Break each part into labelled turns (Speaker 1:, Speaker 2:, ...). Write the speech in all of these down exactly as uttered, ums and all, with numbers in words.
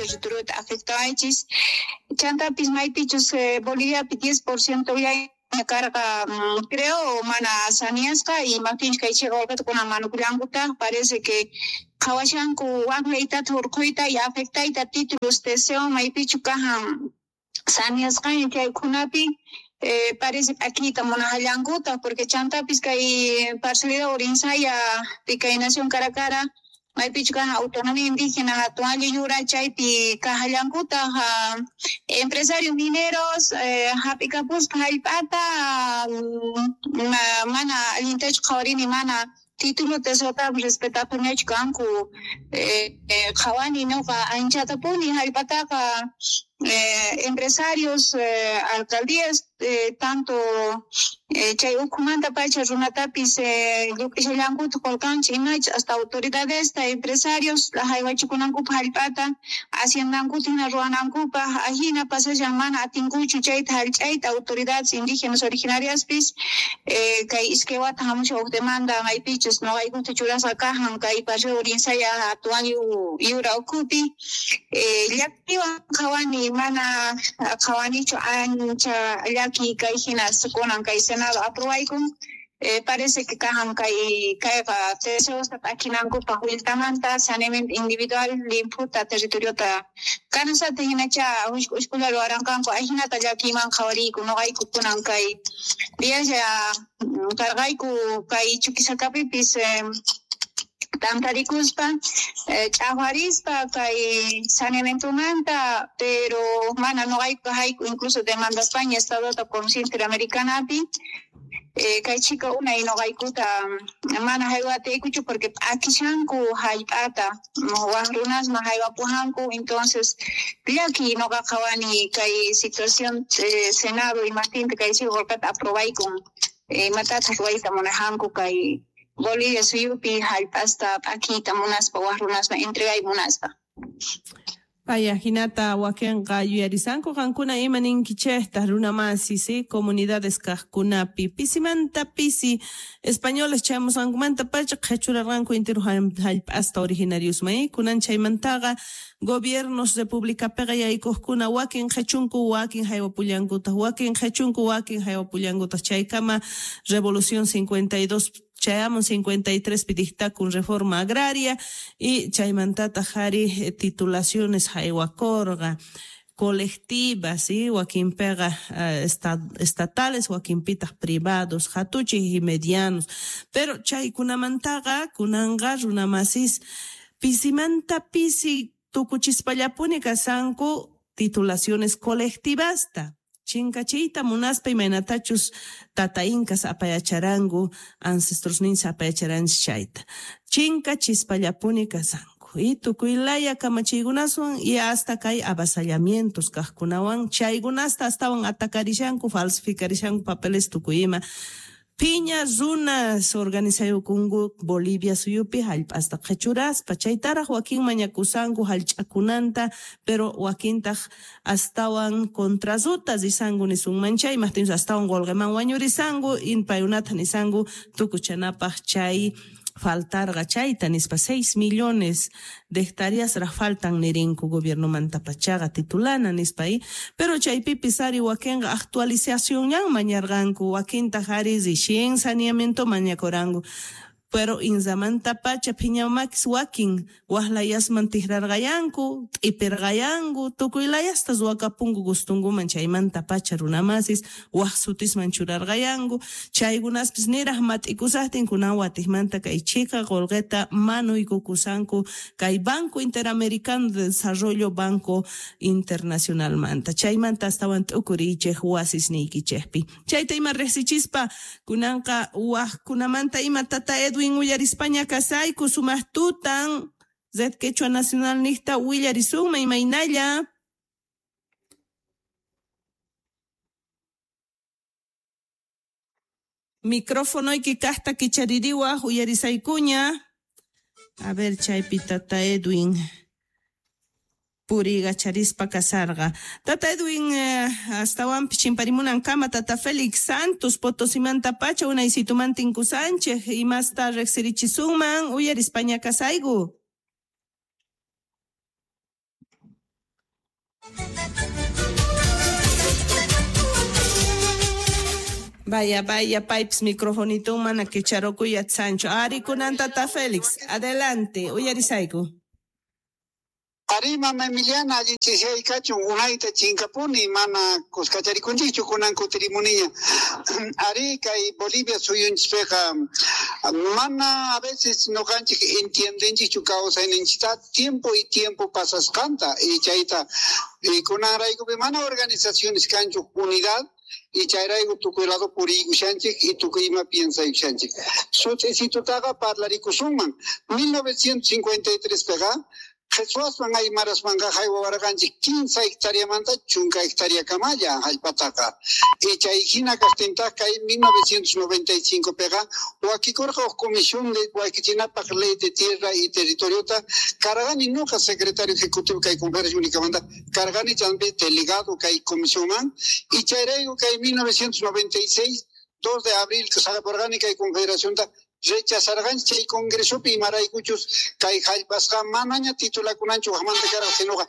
Speaker 1: territoriota afectawaychis. Chantapis maypichus eh, Boliviapi diez por ciento karqa, creo, mana saneasqa y imaptinchus kay chiqa qolqeta kunan manukullankutaj, parece que qhawashanku wak leytata hurquyta y afectayta títulos T C O maypichu kajan saneasqaña chaykunapi. Eh, parece p'akiyta munajallankutaj porque chantapis kay parcialidad Urinsaya kay nación Caracara maypichu kajan autonomía indígena hatun ayllu yura chaypi kajallankutaj empresarios mineros eh, hap'ikapuspa hallp'ata mana allintachu qhawarini mana título T C Otapis respetapuniachu kanku eh, eh, qhawani noqa anchatapuni hallp'ataqa eh, empresarios eh, alcaldías eh, tanto eh, chay ukhumanta pacha runatapis eh, lluk'ishallankuta qullqanchik imacha hasta autoridadesta empresarios haywachikunankupaq hallp'ata haciendankuta hina ruwanankupaq ajina pasashan mana atinkuchu chayta hallch'ayta autoridades indígenas originariaspis eh, kay iskay wata hamushan huk demanda maypichus noqaykuta churasqa kajan kay Paseo Urinsaya hatun ayllu yura ukhupi eh, llakiywan qhawani mana qhawanichu ancha llaki kay hina kunan kay Senado aprobaykun eh, parece que kajan kay kayqa T C Osta p'akinankupaq willtamanta saneamiento individual limphuta territoriota kanasata hinacha hushk'ushkulla ruwaranqanku ajinata llakiyman qhawariyku noqayku kunan kay diaslla karqayku kay Chuquisacapipis eh, tantarikuspa eh, ch'aqwarispa kay saneamientomanta pero mana noqayku hayku incluso demandaspaña Estadota Comisión Interamericanapi eh, kay chika unay noqaykuta mana haywatiykuchu porque p'akishanku hallp'ata waj runasman haywapujanku entonces llaki noqa qhawani kay situación eh, Senado imajtinta kay chiqa qolqeta aprobaykun eh, imatataq ruwayta munajanku kay Bolivia suyupi hallp'asta p'akiyta munaspa waj runasman entregay munaspa.
Speaker 2: Paya hinata wakinqa yuyarisanku qankuna ima ninkichejta runamasi, ¿sí? Comunidades kajkunapi pisimanta pisi españoles chayamusqankumanta pacha qhechurarqanku intiru hallp'asta originariosman, kunan chaymantaqa gobiernos republicapiqa yaykuqkuna wakin qhechunku wakin haywapullankutaq wakin qhechunku wakin haywapullankutaq chaykama Revolución cincuenta y dos chayamun cincuenta y tres pi dictakun reforma agraria y chaymantataq ari titulaciones haywakurqa colectivas, ¿sí? Wakinpiqa uh, estatales, wakinpitaq privados, hatuchij y medianos. Pero chaykunamantaqa kunanqa runamasis pisimanta pisi tukuchispallapuni kasanku titulaciones colectivasta. Chinkachiyta munaspa imaynatachus tata incas apayacharanku, ancestrosninchis apayacharanchis chayta. Chinkachispallapuni kasanku. Y tukuylaya kamachiykunaswan y hasta kay avasallamientos kajkunawan chaykunasta astawan atakarishanku, falsificarishanku papeles tukuyima. Piña runas organizayukunku Bolivia suyupi hallp'asta qhechuraspa chaytaraj wakin mañakusanku hallch'akunanta pero wakintaj astawan contrazuta risanku nisunman chay imajtinchus astawan qolqeman wañurisanku inpayunata nisanku tukuchanapaj chay faltarqa chayta nispa seis millones de hectáreas raj faltan nirinku gobiernomanta pachaqa titulana nispa y pero chaypipis ari wakinqa actualizacionñan mañarqanku wakintaj ari rixin saneamiento mañakuranku pero inzamanta pacha phiñamakis wakin wajlayasman tijrarqayanku t'ipirqayanku tukuylayasta ruwakapunku gustunkuman chaymanta pacha runamasis waj sutisman churarqayanku chaykunaspis niraj mat'ikusajtin kunan watijmanta kay chhika qolqeta manuykukusanku kay Banco Interamericano de Desarrollo Banco Internacionalmanta chaymanta astawan t'ukuriychej wasisniykichejpi chayta ima riqsichispa kunanqa wajkunamanta ima tata Edwin uyarispaña kasayku sumaq tutan Red Quechua Nacional niqta willarisunman imaynalla. Microfonoyki kaqta kichaririwaj uyarisaykuña. A ver chaypi tata Edwin purigacharispa kasarqa. Tata Edwin eh, astawanpis chimparimunankama tata Félix Santos Potosimanta pacha unaysitumanta tinkusanchej imasta riqsirichisunman uyarispaña kasayku. Vaya, vaya, pipes, microfonito mana kicharokuy Sancho. Ari kunan tata Félix, adelante, uyarisayku.
Speaker 3: Ari mama Emiliana, allin chishay kachun unayta chinkapuni mana kuskacharikunchikchu kunan kutirimuniña. Ari kay Bolivia suyunchikpiqa mana a veces noqanchik entiendenchikchu kawsayninchikta tiempo y tiempo pasasqanta y chayta y kunanraykupi mana organizaciones kanchu unidad y chayrayku tukuy lado puriykushanchik y tukuy ima piensaykushanchik. Sut'isitutaqa parlarikusunman mil novecientos cincuenta y tres piqa Qhichwaswan aymaraswanqa haywawarqanchik quince hectáreamanta chunka hectáreakamalla hallp'ataqa. Y chay hina kaqtintaq kay mil novecientos noventa y cinco piqa wakikurqa huk comisión de wakichinapaq ley de tierra y territoriota karqani nuqa secretario ejecutivo kay conferencia únicamanta karqani chaypi delegado kay comisionman y chayrayku kay mil novecientos noventa y seis dos de abril saqapurqani kay confederacionta rechazarqanchik chay congresopi imaraykuchus kay hallp'asqa manaña titulakunanchu waqmanta karqa sinoqa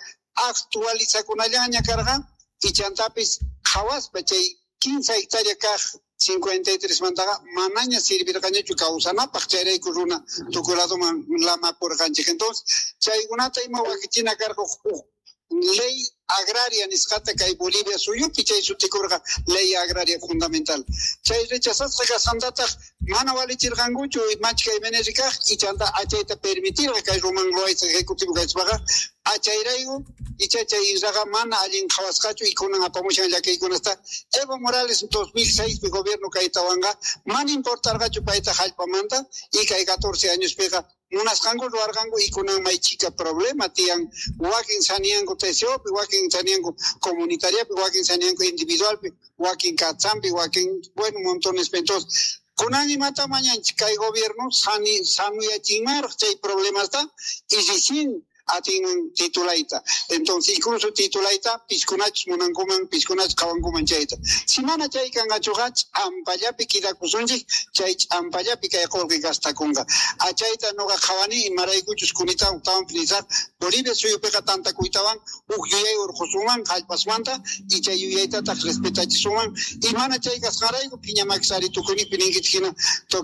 Speaker 3: actualizakunallaña karqa y chantapis qhawaspa chay quince hectárea kaq cincuenta y tres mantaqa manaña sirvirqañachu kawsanapaq chayrayku runa tukuy ladoman lamapurqanchik. Entonces chaykunata ima wakichina karqa huk ley agraria nisqata kay Bolivia suyupi chay sutikurqa ley agraria fundamental. Chay rechazasqa kasqantataq mana walichirqankuchu machka M N R kaq y chanta achayta permitirqa kay Roman Loaiza ejecutivo kachpaqa achayrayku icha chay inraqa mana allin qhawasqachu y kunan apamushan llakiykunasta. Evo Morales dos mil seis pi gobierno kaytawanqa mana importarqachu payta hallp'amanta y kay catorce años piqa munasqanku ruwarqanku y kunan may chika problema tiyan wakin saniyanku T C O pi wakin saniyanku comunitariapi wakin saniyanku individualpi wakin kachampi wakin bueno montones. Entonces kunan imata mañanchik kay gobierno sani sanuyachinmaraq chay problemasta y recién atinman titulayta. Entonces incluso titulayta piskunachus munankuman piskunachus qhawankuman chayta. Si mana chay kanqachuqa ch'ampallapi kidakusunchik chay ch'ampallapi kay qullqi gastakunqa. Achayta nuqa qhawani imaraykuchus kunita tawan nisaq Bolivia suyupiqa tantakuytawan huk yuyay urqusunman hallp'asmanta y chay yuyaytataq respetachisunman y mana chay kasqanrayku phiñamakisari tukuyniqpi ninkichik hina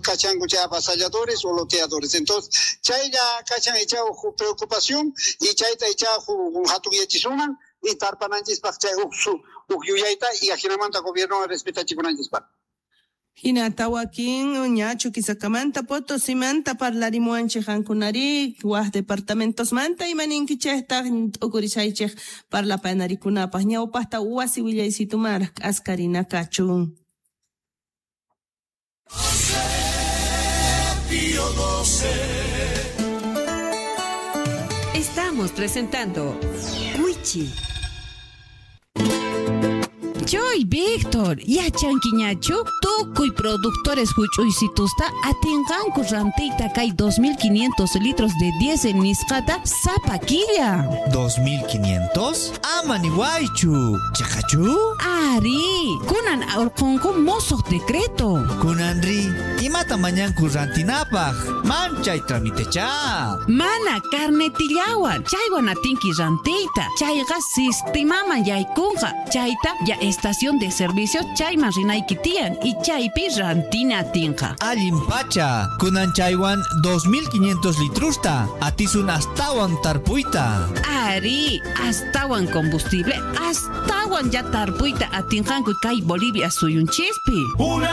Speaker 3: kachanku chay avasalladores o loteadores. Entonces chaylla kachan icha huk preocupación y chayta icha hatunyachisuman y tarpananchispaq chay huk huk yuyayta y ajinamanta gobierno respetachikunanchispaq.
Speaker 2: Hinata wakin ñachu Kisakamanta Potosimanta parlarimuanchik qankunari waj departamentosmanta imaninkichejtaq t'ukurisaychej parlapanarikunapaq ñawpaqta wasi willaysitumar k'askarina kachun.
Speaker 4: Estamos presentando Wichi.
Speaker 5: Choy, Víctor, yachankiñachu tukuy productores huch'uysitusta atinqanku rantiyta kay dos mil quinientos litros de diésel nisqata sapa killa.
Speaker 6: ¿dos mil quinientos? Ama niwaychu. Chaqachu?
Speaker 5: Ari, kunan urqunku mosoq decreto.
Speaker 6: Kunanri, imata mañanku rantinapaq? Manchay tramitecha.
Speaker 5: Mana carnetillawan, chaywan atinki rantiyta. Chayqa sistimaman yaykunqa. Chayta ya estación de servicio chayman rinayki tiyan y chaypi rantina atinqa.
Speaker 6: Allin pacha, kunan chaywan dos mil quinientos litrusta, atisun astawan tarpuyta.
Speaker 5: Ari, astawan combustible, astawan ya tarpuyta atinqanku kay Bolivia suyunchispi.
Speaker 7: Una